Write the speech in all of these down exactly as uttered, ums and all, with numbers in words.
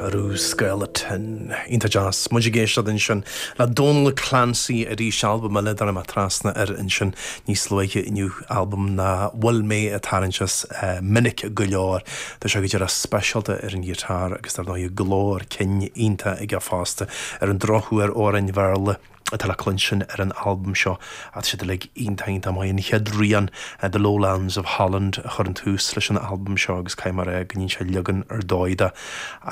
Arú Skeleton. Iontach deas. Muid ag éisteacht ansin le Dónal Clancy arís albam eile dar mé trasna air ansin níos luaithe inniu albam nach bhfuil mé ag tarraingt as minic go leor. Tá sé go díreach speisialta ar an ghiotár agus dar ndóigh glór cinn iontach aige fosta ar an drochuair amhráin Bhéarla atá le cluinstin ar an albam seo tá siad uilig iontach iontach maith an chéad rian The Lowlands of Holland a chuireann tús leis an albam seo agus caithfidh mé a rá go ndéanann sé leagan ar dóigh de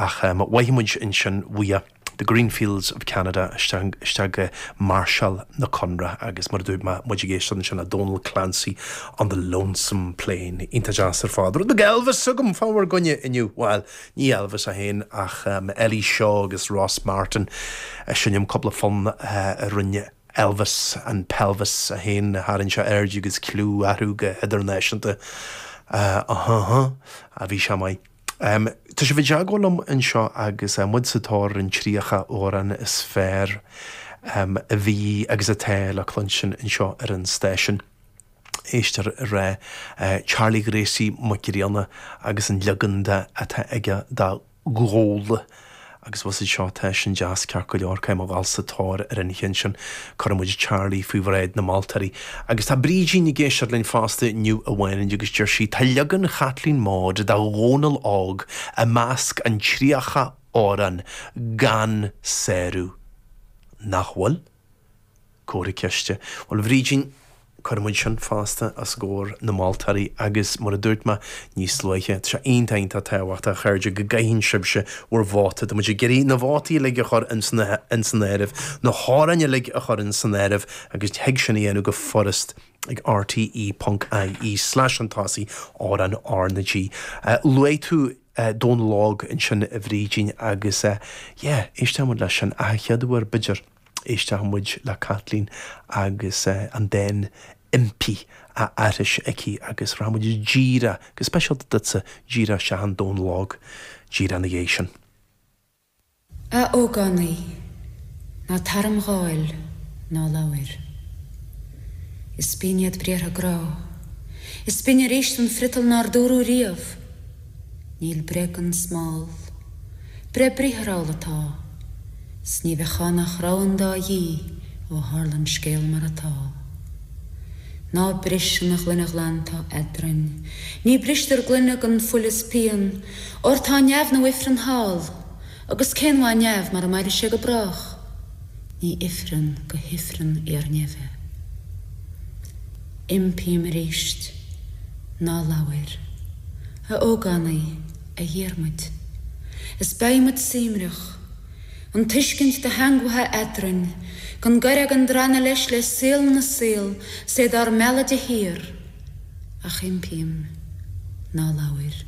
ach um, mhaith muid ansin uaidh The Greenfields of Canada isteach go Marshall na Conra agus mar dúirt muid ag éisteacht ansin le Donal Clancy on the Lonesome Plain iontach deas ar fad. Rud Elvis agam fá bhur gcoinne inniu well ní Elvis é féin ach um, Ellie Shaw agus Ross Martin sin cúpla fonn uh, a rinne Elvis an Pelvis a haon tharraing sé aird agus clú orthu go hidirnáisiúnta uh, uh, a bhí sé maith. Um, Tá sé bhí liom anseo agus uh, muid sa tóir an tríocha amhrán is fearr um, a bhí agus atá le cluinstin anseo ar an station. Éistear le uh, Charlie Gracie Mac Grianna agus an leagan de atá aige de Ghoul. agus was seo tá sin deas ceart go leor céim bhil sa tóir ar an cheann sin chuir Charlie faoi bhráid na moltóirí. Agus tá Brídín ag éisteacht linn fosta inniu amháin agus deir sí tá leagan Chaitlín Maude de Dhónal Óg i measc an tríocha amhrán gan sárú. Nach bhfuil? Comhartha ceiste. Well Bhrídín Cuirfimid sin fosta os comhair na moltóirí agus mar a dúirt mé níos luaithe sé iontach tábhachtach a chairde go gcaitheann sibhse bhur vóta, Tá muid ag iarraidh na vótaí uilig a chur in san áireamh, na hamhráin uilig a chur in san áireamh agus thig sin a dhéanamh go furast ag RTE.ie slash an tosaí ar an R na G. Uh, Luaigh tú uh, Dónal Óg ansin a Bhrídín agus uh, yeah, éisteann leis sin a chéad uair b'fhéidir éisteann muid le Caitlín agus uh, an dán impí a aithris aici agus rachaimid díreach go speisialta duitse díreach isteach in Dónal Óg díreach ina dhiaidh sin. A ógánaigh ná tar im dháil ná labhair. Is binn iad briathra grá. Is binne arís an friotal nár dúradh riamh. Níl breith gan smál. Breith briatharúil atá. 'S ní bheadh ann ach rogha an dá dhíth ó tharla an scéal mar atá. Ná bris an ghloine ghlan atá eadrainn. Ní bristear gloine gan fuil is pian, óir tá neamh nó ifreann thall, agus cén mhaith neamh mara maire sé go brách. Ní ifreann go hifreann iar-neimhe. Impím arís, ná labhair, a ógánaigh a Dhiarmuid. Is beidh muid suaimhneach, an tuiscint do theangmhaithe eadrainn, gan goire gan drannadh leis le saol na saol, 's é dár mealladh de shíor, ach impím ná labhair.